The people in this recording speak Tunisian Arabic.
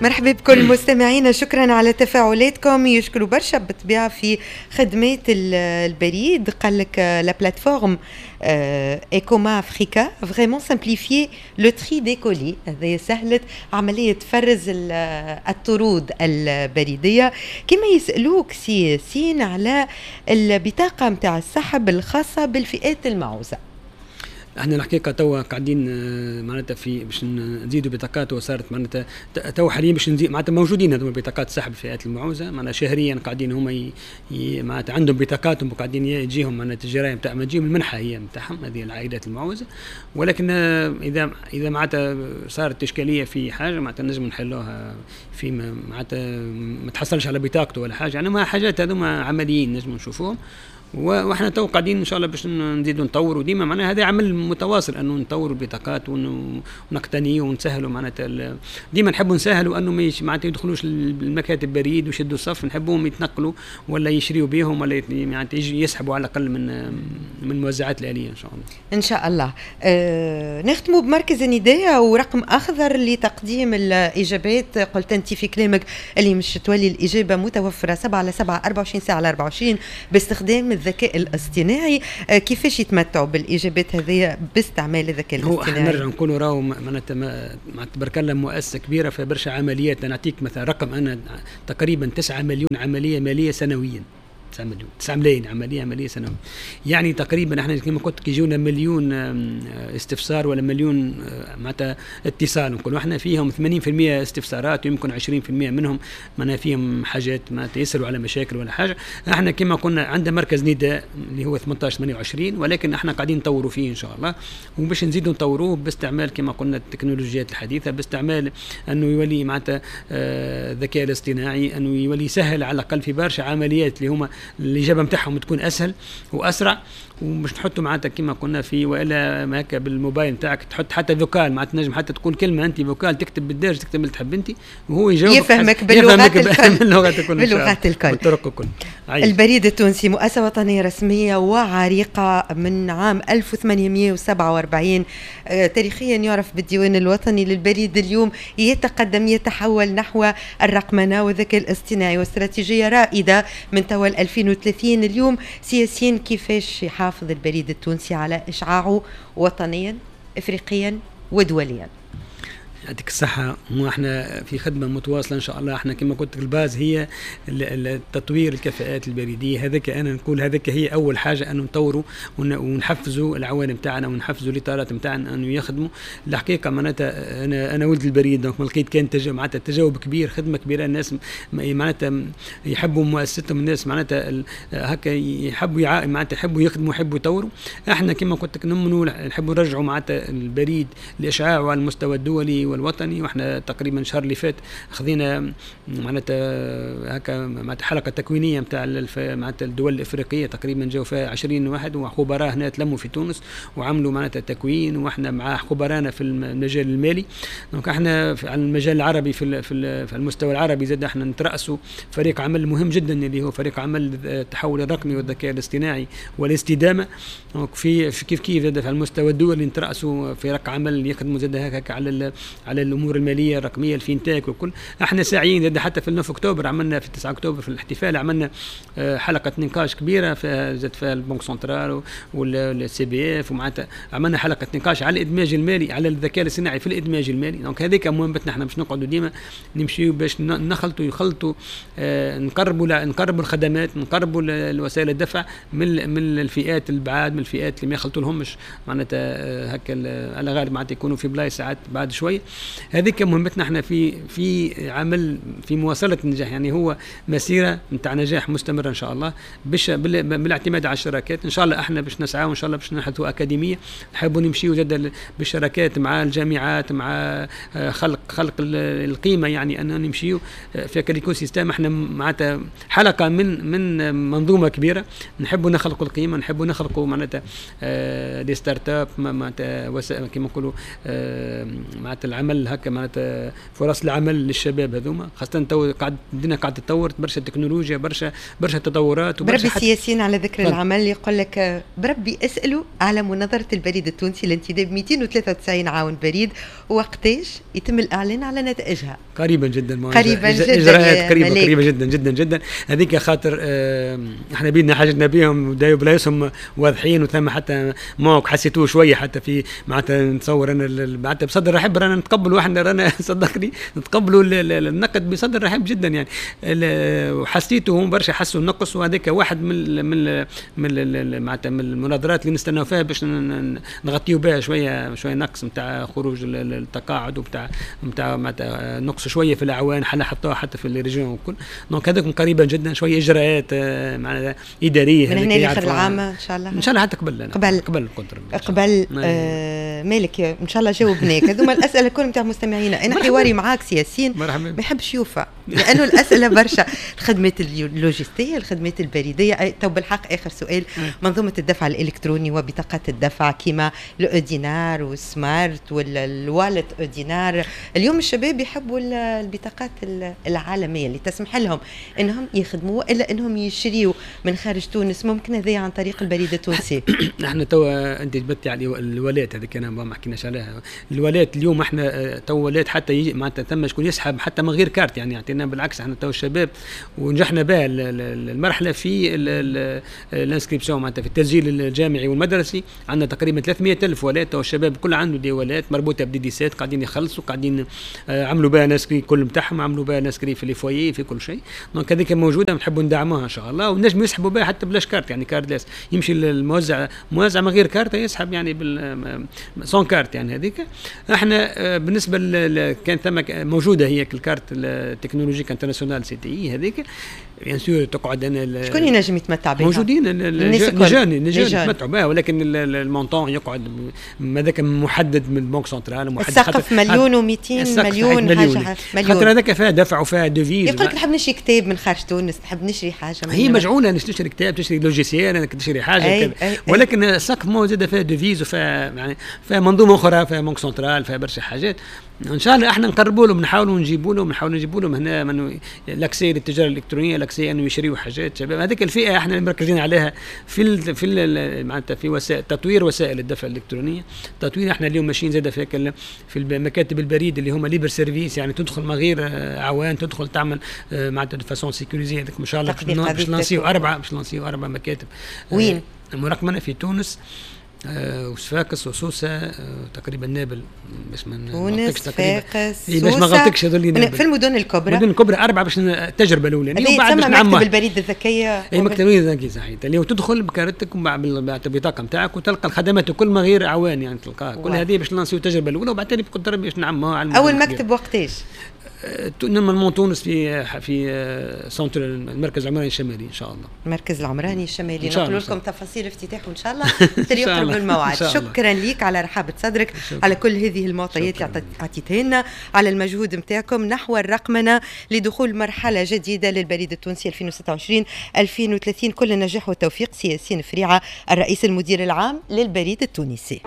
مرحبا بكل مستمعينا، شكرا على تفاعلاتكم. يشكروا برشا بالطبيعة في خدمات البريد. قال لك la plateforme Ecoma Africa vraiment simplifié le tri des colis، هذا سهلت عملية فرز الطرود البريديه. كما يسالوك سي ياسين على البطاقة نتاع السحب الخاصة بالفئات المعوزه. احنا الحقيقة توا قاعدين معناتها في باش نزيدوا بطاقات، وصارت معناتها توا حاليا باش نزيد، معناتها موجودين هذوما بطاقات سحب الفئات المعوزه، معناتها شهريا قاعدين هما معناتها عندهم بطاقاتهم وقاعدين يجيهم معناتها الجرايه نتاع ما تجيهم المنحة هي نتاعهم هذه العائلات المعوزه. ولكن اذا معناتها صارت اشكالية في حاجه، معناتها نجم نحلوها في معناتها ما تحصلش على بطاقته ولا حاجه، يعني ما حاجات هذوما عمليين نجم نشوفوهم. واحنا تو قاعدين ان شاء الله باش نزيدوا نطوروا ديما، معناها هذا عمل متواصل انه نطوروا البطاقات ونقتنيه ونسهلوا، معناتها ديما نحبوا نسهلوا انه ما معناتها يدخلوش المكاتب بريد ويشدوا الصف، نحبوهم يتنقلوا ولا يشريوا بهم ولا معناتها يسحبوا على الاقل من الموزعات الالية ان شاء الله. ان شاء الله. نختموا بمركز النداء ورقم اخضر لتقديم الاجابات. قلت انت في كلامك اللي مش تولي الاجابة متوفرة 7 على 7، 24 ساعة على 24 باستخدام الذكاء الاصطناعي. كيفاش يتمتعوا بالاجابات هذه باستعمال الذكاء الاصطناعي؟ هو نرجع نقولوا راهو معناتها تبارك الله مؤسسة كبيرة في برشا عمليات. نعطيك مثلا رقم، انا تقريبا 9 مليون عملية ماليه سنويا، 9 مليون، 9 ملايين عملية ماليه سنويا، يعني تقريبا احنا كما قلت كي يجونا مليون استفسار ولا مليون معناتها اتصال، نقولوا احنا فيهم 80% استفسارات ويمكن 20% منهم معناها فيهم حاجات معناتها يسالوا على مشاكل ولا حاجه. احنا كما قلنا عندنا مركز نداء اللي هو 18 28، ولكن احنا قاعدين نطوروا فيه ان شاء الله، وباش نزيدوا نطوروه باستعمال كما قلنا التكنولوجيات الحديثه، باستعمال انه يولي معناتها الذكاء الاصطناعي، انه يولي سهل على الاقل في برشا عمليات اللي هما الاجابة نتاعهم تكون اسهل واسرع. ومش نحطوا معناتها كما قلنا في والا هكا بالموبايل نتاعك تحط حتى vocal، معناتها تنجم حتى تقول كلمة انت vocal، تكتب بالدارجه، تكتب اللي تحب انت وهو يجاوبك، يفهمك باللغات الكل. باللغات الكل. باللغات الكل. بالطرق الكل. البريد التونسي مؤسسة وطنية رسمية وعريقه من عام 1847، تاريخيا يعرف بالديوان الوطني للبريد. اليوم يتقدم، يتحول نحو الرقمنه والذكاء الاصطناعي واستراتيجيه رائدة من توا 2030. اليوم سي ياسين، كيفاش يحافظ البريد التونسي على إشعاعه وطنيا، إفريقيا ودوليا؟ يعطيك الصحة. احنا في خدمة متواصلة ان شاء الله. احنا كما قلت ال base هي التطوير الكفاءات البريدية، هذاك انا نقول هذاك هي اول حاجة، انه نطوروا ونحفزوا العوان نتاعنا ونحفزوا الاطارات نتاعنا انه يخدموا. الحقيقة معناتها انا ولد البريد، donc ما لقيت كان معناتها تجاوب كبير، خدمة كبيرة، الناس معناتها يحبوا مؤسستهم، الناس معناتها هكا يحبوا معناتها يحبوا يخدموا، يحبوا يطوروا. احنا كما قلت لك نمنوا نحبوا نرجعوا معناتها البريد لاشعاعه على المستوى الدولي والوطني. واحنا تقريبا الشهر اللي فات خذينا معناتها هكا معناتها حلقة تكوينيه نتاع معناتها الدول الافريقيه، تقريبا جاوا فيها 20 واحد وخبراء هنا تلموا في تونس وعملوا معناتها تكوين، واحنا مع خبرانا في المجال المالي. donc احنا على المجال العربي في المستوى العربي زاد احنا نترأسوا فريق عمل مهم جدا اللي هو فريق عمل التحول الرقمي والذكاء الاصطناعي والاستدامه. donc في كيف كيف زاد في المستوى الدولي نترأسوا فريق عمل يخدموا زاد هكا على الامور المالية الرقميه، ال fintech وكل. احنا ساعيين زاد حتى في 9 اكتوبر عملنا، في 9 اكتوبر في الاحتفال عملنا حلقة نقاش كبيرة فيها زاد فيها ال banque centrale وال CBF، ومعناتها عملنا حلقة نقاش على الادماج المالي، على الذكاء الاصطناعي في الادماج المالي. donc هذيك مهمتنا احنا باش نقعدوا ديما نمشيو باش نخلطوا يخلطوا نقربوا الخدمات، نقربوا الوسائل الدفع من الفئات البعاد، من الفئات اللي ما يخلطوا لهمش معناتها هكا على غالب معناتها يكونوا في بلايص ساعات بعد شويه. هذيك مهمتنا احنا في عمل في مواصلة النجاح، يعني هو مسيره نتاع نجاح مستمرة ان شاء الله باش بالاعتماد على الشراكات ان شاء الله. احنا باش نسعى وان شاء الله باش نحدثوا اكاديميه، نحبوا نمشيو زاد بالشراكات مع الجامعات، مع خلق القيمه، يعني ان نمشيو في l'écosystème. احنا معناتها حلقة من منظومة كبيره، نحبوا نخلقوا القيمه، نحبوا نخلقوا معناتها des startups، معناتها كما نقولوا معناتها العمل هكا معناتها فرص العمل للشباب هذوما، خاصة تو قاعد الدنيا قاعدة تتطور برشا تكنولوجيا، برشا تطورات. وبرشا بربي السياسيين على ذكر العمل يقول لك بربي اسالوا على مناظرة البريد التونسي لانتداب 293 عاون بريد، وقتاش يتم الاعلان على نتائجها؟ قريبا جدا، قريبا جدا، اجراءات قريبه قريبه جدا جدا جدا. هذيك خاطر احنا بيدنا حاجتنا بهم بلايصهم واضحين، وثم حتى manque حسيتوه شوية حتى في معناتها نتصور انا معناتها بصدر رحب رانا نتقبلوا، احنا رانا صدقني نتقبلوا النقد بصدر رحب جدا يعني. وحسيته هم برشا حسوا النقص، وهذاك واحد من معناتها من المناظرات اللي نستناو فيها باش نغطيو بها شوية شوية نقص نتاع خروج التقاعد وبتاع نتاع معناتها نقص شوية في الاعوان حطوها حتى في les régions والكل. donc هذاك قريبا جدا شوية اجراءات معناتها ادارية من هنا لاخر العام ان شاء الله. ان شاء الله حتى قبل قبل قبل القدر قبل. مالك ان شاء الله جاوبناك. هذوما الاسئلة الكل نتاع مستمعينا. انا حواري معاك سي ياسين ما يحبش يوفى لانه الاسئلة برشا. الخدمات اللوجستيه، الخدمات البريديه. تو بالحق اخر سؤال، منظومة الدفع الالكتروني وبطاقات الدفع كيما ال e-dinar وال smart ولا ال wallet e-dinar، اليوم الشباب يحبوا البطاقات العالمية اللي تسمح لهم انهم يخدموا الا انهم يشريوا من خارج تونس، ممكن هذا عن طريق البريد التونسي؟ احنا توا انت جبدتي على ال wallet هذيك انا ما حكيناش عليها. ال wallet اليوم احنا تو wallet حتى معناتها ثم شكون يسحب حتى من غير كارت يعني، يعطينا بالعكس احنا تو الشباب ونجحنا بها المرحلة في ال inscription معناتها في التسجيل الجامعي والمدرسي، عندنا تقريبا 300 الف wallet. تو الشباب كل عنده des wallets مربوطة ب des 17 قاعدين يخلصوا، قاعدين عملوا بها l'inscrit كل نتاعهم، عملوا بها l'inscrit في les foyers في كل شيء. donc هذيك موجودة نحبوا ندعموها ان شاء الله، ونجم يسحبوا بها حتى بلاش كارت يعني cardless، يمشي للموزع موزع من غير كارت يسحب يعني بال sans carte يعني. هذيك احنا بالنسبة كان ثم موجودة هي ال carte technologique internationale CTI هذيك bien sûr تقعد انا شكون ينجم يتمتع بها؟ موجودين les jeunes، les jeunes يتمتعوا بها، ولكن ال montant يقعد هذاك محدد من ال banque centrale. محدد السقف مليون و200 مليون حاجة مليون، خاطر هذاك فيها دفع وفيها devise. يقول لك نحب نشري كتاب من خارج تونس، نحب نشري حاجة. هي مجعوله انك تشري كتاب، تشري logiciel، انك تشري حاجة أي أي أي. ولكن السقف موجودة فيها devise وفيها يعني فيها منظومة اخرى، فيها banque centrale، فيها برشا حاجات. ان شاء الله احنا نقربوا لهم، نحاولوا نجيبوا لهم، نحاولوا نجيبوا لهم هنا من l'accès للتجارة الالكترونيه، l'accès انه يشريوا حاجات شباب. هذيك الفئة احنا اللي مركزين عليها في معناتها في وسائل تطوير وسائل الدفع الالكترونيه. تطوير احنا اليوم ماشيين زاد في مكاتب البريد اللي هما libre service، يعني تدخل من غير اعوان، تدخل تعمل معناتها de façon sécurisée. هذاك ان شاء الله باش نلانسيو اربع مكاتب. وين؟ مرقمنه في تونس وصفاقس وسوسه تقريبا نابل باش ما تونس صفاقس. إيه باش ما غلطكش هذول. في المدن الكبرى. المدن الكبرى اربعة باش التجربة الاولانية وبعد باش مكتب البريد الذكيه. اي مكتب البريد الذكي صحيح، اللي هو تدخل بكارتك بالبطاقه نتاعك وتلقى الخدمات كل ما غير اعوان يعني تلقاها كل هذه باش نلانسيو التجربة الاولى وبعد تالي بقدر باش نعموها على اول مكتب وقتاش؟ normalement تونس في centre المركز العمراني الشمالي ان شاء الله. المركز العمراني الشمالي، نقول لكم تفاصيل افتتاحه ان شاء الله يقرب الموعد. شكرا لك على رحابه صدرك، شكرا. على كل هذه المعطيات اللي اعطيتها لنا، على المجهود نتاعكم نحو الرقمنه لدخول مرحلة جديدة للبريد التونسي 2026 2030. كل النجاح والتوفيق سي ياسين فريعه، الرئيس المدير العام للبريد التونسي.